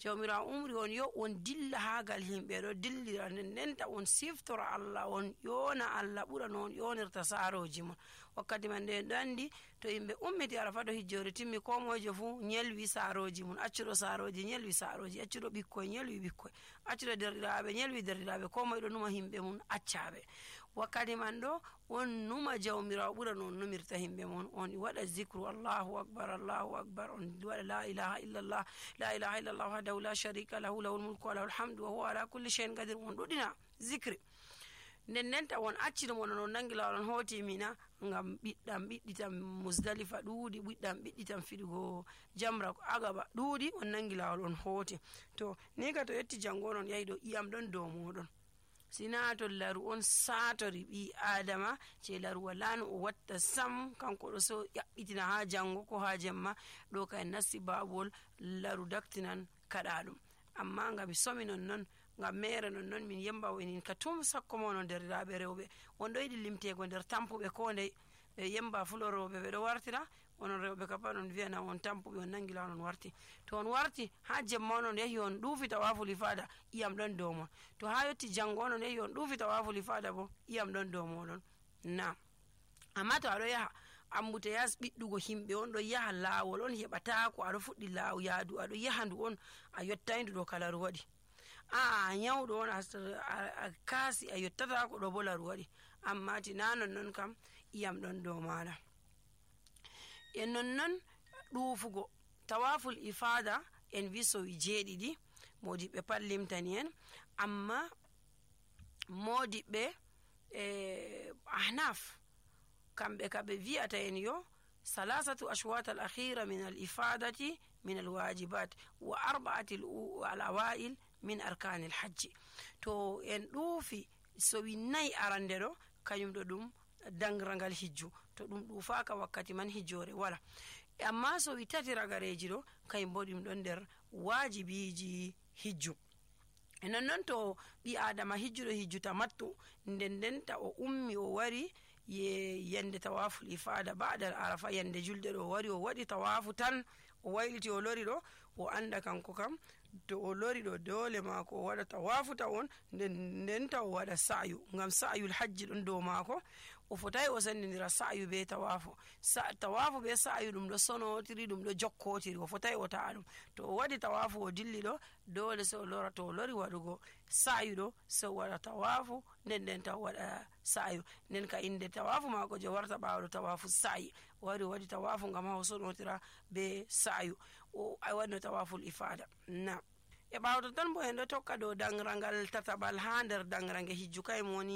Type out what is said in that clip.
jawmirawo umri on yo on dilla hagal himɓe ɗo dillira ndenta on siftora Allah, on yona Allah ɓura no on yonirta saroji mon. wakkati man nde ɗo andi to yimɓe ummiti arafa ɗo hijjore timmi ko mojo fu nyelwi saroji mun, accuɗo saroji nyelwi saroji, accuɗo ɓikkoy nyelwi ɓikkoy, accuɗo derɗiraɓe nyelwi derɗiraɓe, ko moye ɗo numa himɓe mun accaɓe. wakkati man ɗo on numa jawmirawo ɓura no on numirta himɓe mon, on waɗa zicru Allahu akbar Allahu akbar, on waɗa la ilaha illallah la ilaha illallah wahdahu la sharika lahu lahul mulku wa lahul hamdu wa huwa ala kulli shay'in qadir, on ɗuɗina zicri. ndenta won accino mon non nangi lawol on hoti mina ngam ɓiɗɗitam Muzdalifa ɗuuɗi, ɓiɗɗitam fiɗugo jamra agaba ɗuuɗi, on nangi lawol on hoti. to ni ka to yetti jango on yahi ɗo iyam ɗon dow moɗon, sina to laru on satori ɓi adama je laru wala no o watta sam, kanko ɗo so ƴaɓɓitina ha jango ko ha jemma ɗo kay nasti babol laru daktinan kaɗa ɗum. amma ngam somi non ngam mere non min yemba winin ka tum sakko mono derɗiraɓe rewɓe on ɗo yiɗi limtego nder tampuɓe ko ndey ɓe yemba fuloroɓe ɓe ɗo wartira, onon rewɓe ka pat on wiyana on tampuɓe on nangi law on warti. to on warti ha jemma onon yahi on ɗuufi tawaful ifada iyam ɗon dow mon, to ha yetti jango onon yahi on ɗuufi tawaful ifada bo iyam ɗon dow moɗon. na amma to aɗo yaha ambute yas ɓiɗɗugo himɓe on ɗo yaha lawol on heɓata ko aɗo fuɗɗi law yaadu aɗo yaha ndu on a yottayndu ɗo kala ru waɗi, a nyawɗo on a kaasi a yottata ko ɗo bo laru waɗi. amma tina non kam iyam ɗon dow maɗa. e non ɗuufugo tawaful ifada en wi sowi 7 modiɓɓe pat limtani en, amma modiɓɓe ahnaf kamɓe ka ɓe wi'ata en yo salasatu ashwat al akhira min al ifadati min al wajibat wa 4 al awail min arkani al hajji. to en ɗuufi sowi 4 arande ɗo kañum ɗo ɗum dangrangal hijju, to ɗum ɗuufaka wakkati man hijjore wala. amma sowi 3 ragareji ɗo kañum bo ɗum ɗon nder wajibiji hijju. e non to ɓi adama hijjuɗo hijju tamattu ndendenta o ummi o wari yende tawaful ifada ba'da arafa, yende julde ɗo wari o waɗi tawafu tan o wayliti o lori ɗo, o anda kanko kam to o lori ɗo dole mako o waɗa tawafu tawon ndenta o waɗa sa'yu, ngam sa'yul hajji ɗon dow mako. o fotai o sendindira sa'yu be tawafu. tawafu be sa'yu ɗum ɗo sonotiri, ɗum ɗo jokkotiri, o fotai o ta'a ɗum. to o waɗi tawafu o dilli ɗo dole se o lora, to o lori waɗugo sa'yu ɗo se o waɗa tawafu ndenta o waɗa sa'yu. nden ka inde tawafu mako je warta ɓawɗo tawafu sa'i, o wari o waɗi tawafu ngam ha o sonotira be sa'yu, o waɗino tawaful ifada. na e ɓawto tan bo en ɗo tokka dow dangrangal tataɓal ha nder dangrange hijju kay woni